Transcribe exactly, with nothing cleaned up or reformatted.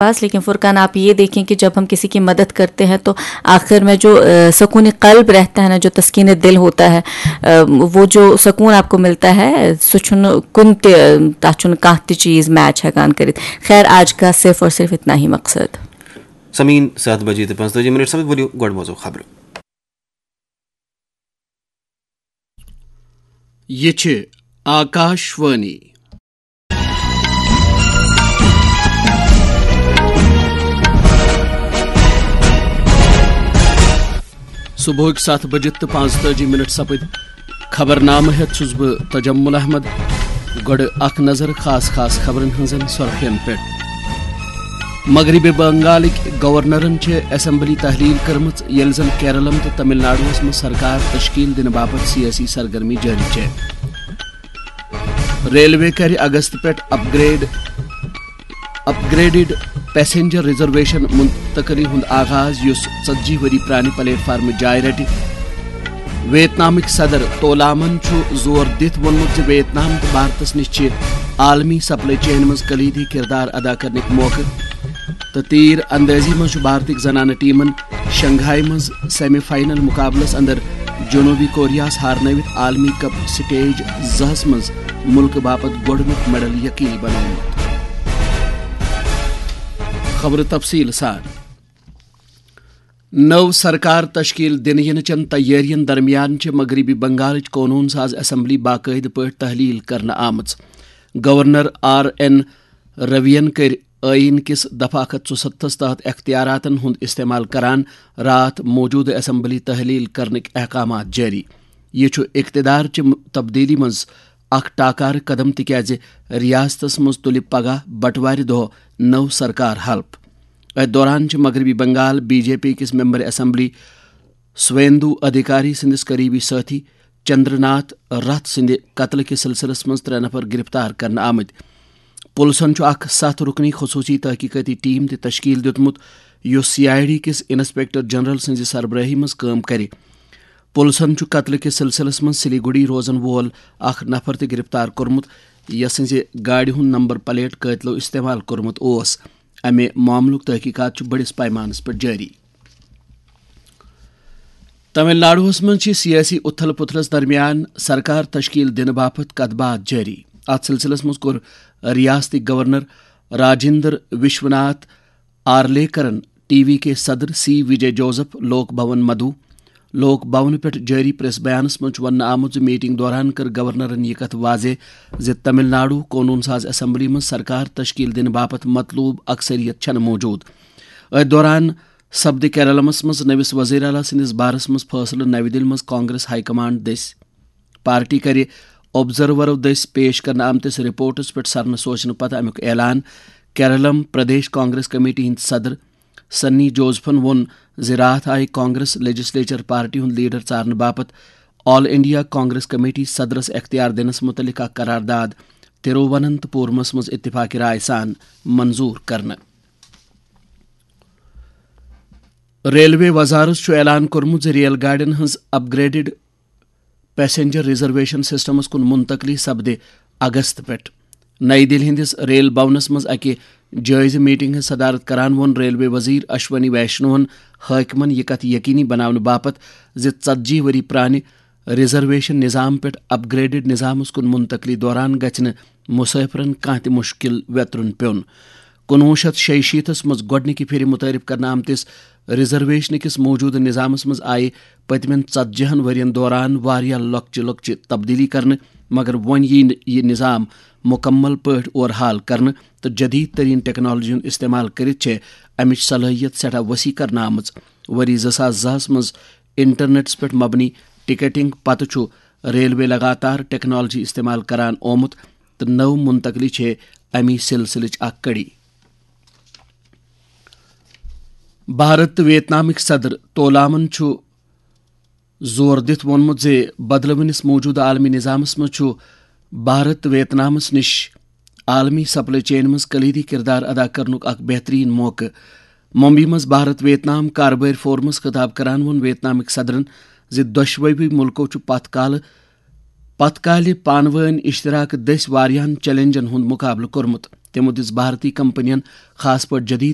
पास। लेकिन फुरकान, आप ये देखें कि जब हम किसी की मदद करते हैं तो आखिर में जो अ, सुकून कल्ब रहता है ना, जो तस्कीन दिल होता है, अ, वो जो सुकून आपको मिलता है, سُہ چھُنہٕ کُنہِ تہِ، تَتھ چھُنہٕ کانٛہہ تہِ چیٖز میچ ہٮ۪کان کٔرِتھ۔ خیر، آج کا صرف اور صرف اتنا ہی مقصد۔ سمین، ستھ بجے تہٕ پانٛژتٲجی منٹ سپد، ؤلِو گۄڈٕ بوزو خبرٕ۔ یہِ چھِ آکاش وانی۔ صبحٕکۍ ستھ بجہِ تہٕ پانٛژتٲجی منٹ سپٕدۍ۔ خبرنامہٕ ہٮ۪تھ چھُس بہٕ تجمل احمد۔ گۄڈٕ اکھ نظر خاص خاص خبرن ہٕنٛزن سرخین پٮ۪ٹھ۔ مغربی بنگالٕکۍ گورنرن چھِ اسمبلی تحلیل کٔرمٕژ، ییٚلہِ زن کیرلم تہٕ تمل ناڈوہس منٛز سرکار تشکیل دِنہٕ باپتھ سیٲسی سرگرمی جٲری چھےٚ۔ ریلوے کرِ اگست پٮ۪ٹھ upgrade, upgraded passenger reservation منتقلی ہُنٛد آغاز، یُس ژتجی ؤری پرانہِ پلیٹ فارمہٕ جاے رٹہِ۔ ویتنامٕکۍ صدر تولامن چھُ زور دِتھ ووٚنمُت زِ ویتنام تہٕ بھارتس نِش چھِ عالمی سپلائی چین منٛز کلیدی کردار ادا کرنٕکۍ موقعہٕ، تہٕ تیر اندٲزی منٛز چھُ بھارتٕکۍ زنانہٕ ٹیمن شنگھائی منٛز سیمی فائنل مقابلس اندر جنوبی کوریاہس ہارنٲوِتھ عالمی کپ سٹیج زہس منٛز ملکہٕ باپتھ گۄڈٕنیُک میڈل یقینی بنوومُت۔ خبرٕ تفصیل سان۔ نٔو سرکار تشکیل دِنہٕ یِنہٕ چٮ۪ن تیٲرین درمیان چھِ مغربی بنگالٕچ قونوٗن ساز اسمبلی باقٲعدٕ پٲٹھۍ تحلیل کرنہٕ آمٕژ۔ گورنر آر این روین کٔرۍ ٲییٖن کِس دفعہ اکھ ہتھ ژُستتھس تحت اختیاراتن ہُنٛد استعمال کران راتھ موجودٕ اسمبلی تحلیل کرنٕکۍ احکامات جٲری۔ یہِ چھُ اقتدار چہِ تبدیلی منٛز اکھ ٹاکارٕ قدم، تِکیازِ ریاستس منٛز تُلہِ پگاہ بٹوارِ دۄہ نٔو سرکار حلف۔ أتھۍ دوران چھِ مغربی بنگال بی جے پی کِس ممبر اسمبلی سویندو ادھیکاری سٕنٛدِس قریبی سٲتھی چندر ناتھ رتھ سٕنٛدِ قتلہٕ کِس سلسلس منٛز ترٛےٚ نفر گرفتار کرنہٕ آمٕتۍ۔ پُلسن چھُ اکھ ستھ رُکنی خصوٗصی تحقیقٲتی ٹیم تہِ تشکیل دیُتمُت، یُس سی آئی ڈی کِس انسپیکٹر جنرل سٕنٛزِ سربرٲہی منٛز کٲم کرِ۔ پُلسن چھُ قتلہٕ کِس سلسلس منٛز سلیگوڑی روزن وول اکھ نفر تہِ گرفتار کوٚرمُت، یسٕنٛزِ گاڑِ ہُنٛد نمبر پلیٹ قٲتلو استعمال کوٚرمُت اوس۔ امہِ معاملُک تحقیقات چھُ بٔڑِس پیمانس پٮ۪ٹھ جٲری۔ تمل ناڈوہس منٛز چھِ سیٲسی اُتھل پُتھلس درمیان سرکار تشکیل دِنہٕ باپتھ کتھ باتھ جٲری۔ اتھ سلسلس منٛز کوٚر ریاستٕکۍ گورنر راجندر وشوناتھ آرلیکرن ٹی وی کے صدر سی وجے جوزف لوک بھون مدعو۔ لوک بھون پٮ۪ٹھ جٲری پریس بیانس منٛز چھُ وننہٕ آمُت زِ میٹنگ دوران کٔر گورنرن یہِ کتھ واضح زِ تمل ناڈو قونوٗن ساز اسمبلی منٛز سرکار تشکیل دِنہٕ باپتھ مطلوب اکثریت چھنہٕ موجود۔ أتھۍ دوران سپدِ کیرلمس منٛز نٔوِس وزیر اعلیٰ سٕنٛدِس بارس منٛز فٲصلہٕ۔ نَوِ دِلہِ منٛز کانگریس ہائی کمانڈ دٔسۍ پارٹی کرِ آبزرورو دٔسۍ پیش کرنہٕ آمتِس رپورٹس پٮ۪ٹھ سرنہٕ سوچنہٕ پتہٕ امیُک اعلان۔ کیرلم پردیش کانگریس کمیٹی ہٕنٛدۍ صدر سنی جوزفن ووٚن زِ راتھ آیہِ کانگریس لیجسلیچر پارٹی ہُنٛد لیڈر ژارنہٕ باپتھ آل انڈیا کانگریس کمیٹی صدرس اختیار دِنس مُتعلق اکھ قرارداد ترووننتپورمس منٛز اتفاق رائے سان منظور کرنہٕ۔ ریلوے وزارت چھُ اعلان کوٚرمُت زِ ریل گاڑٮ۪ن ہٕنٛز up graded passenger reservation systems کُن منتقلی سپدِ اگست پٮ۪ٹھ۔ نئی دِلہِ ہٕنٛدِس ریل بھونس منٛز اکہِ جٲیزٕ میٹنگ ہٕنٛز صدارت کران ووٚن ریلوے وزیر اشونی ویشنوہن حٲکمن یہِ کتھ یقینی بناونہٕ باپتھ زِ ژتجی ؤری پرانہِ ریزرویشن نظام پٮ۪ٹھ اپ گریڈڈ نظامس کُن منتقلی دوران گژھِ نہٕ مسافرن کانٛہہ تہِ مشکل ویترُن پیوٚن۔ کُنوُہ شیٚتھ شیٚیہِ شیٖتس منٛز گۄڈٕنِکہِ پھِرِ متعارف کرنہٕ آمتِس ریزرویشن کِس موجودٕ نظامس منٛز آیہِ پٔتمٮ۪ن ژتجی ہن ؤرین دوران واریاہ لۄکچہِ لۄکچہِ تبدیلی کرنہٕ، مگر وۄنۍ ییہِ نہٕ یہِ نظام مکمل پٲٹھۍ اورحال کرنہٕ تہٕ جدید ترین ٹیکنالوجی ہُنٛد استعمال کٔرِتھ چھےٚ امِچ صلٲحیت سٮ۪ٹھاہ وسیع کرنہٕ آمٕژ۔ ؤری زٕ ساس زٕ ہس منٛز انٹرنیٹس پٮ۪ٹھ مبنی ٹکٹنگ پتہٕ چھُ ریلوے لگاتار ٹیکنالوجی استعمال کران آمُت تہٕ نٔو منتقلی چھے امی سلسلٕچ اکھ کڑی۔ بھارت تہٕ ویتنامٕکۍ صدر تولامن چھُ زور دِتھ ووٚنمُت زِ بدلوٕنِس موجودٕ عالمی نظامس منٛز چھُ بھارت تہٕ ویتنامس نِش عالمی سپلائی چین منٛز کلیدی کردار ادا کرنُک اکھ بہترین موقعہٕ۔ ممبئی منٛز بھارت ویتنام کاربٲرۍ فورمس خطاب کران ووٚن ویتنامٕکۍ صدرن زِ دۄشوٕے مُلکو چھُ پتھ کالہٕ پتھ کالہِ پانہٕ وٲنۍ اشتراک دٔسۍ واریاہن چیلنجن ہُنٛد مقابلہٕ کوٚرمُت۔ تِمو دِژ بھارتی کمپنین، خاص پٲٹھۍ جدید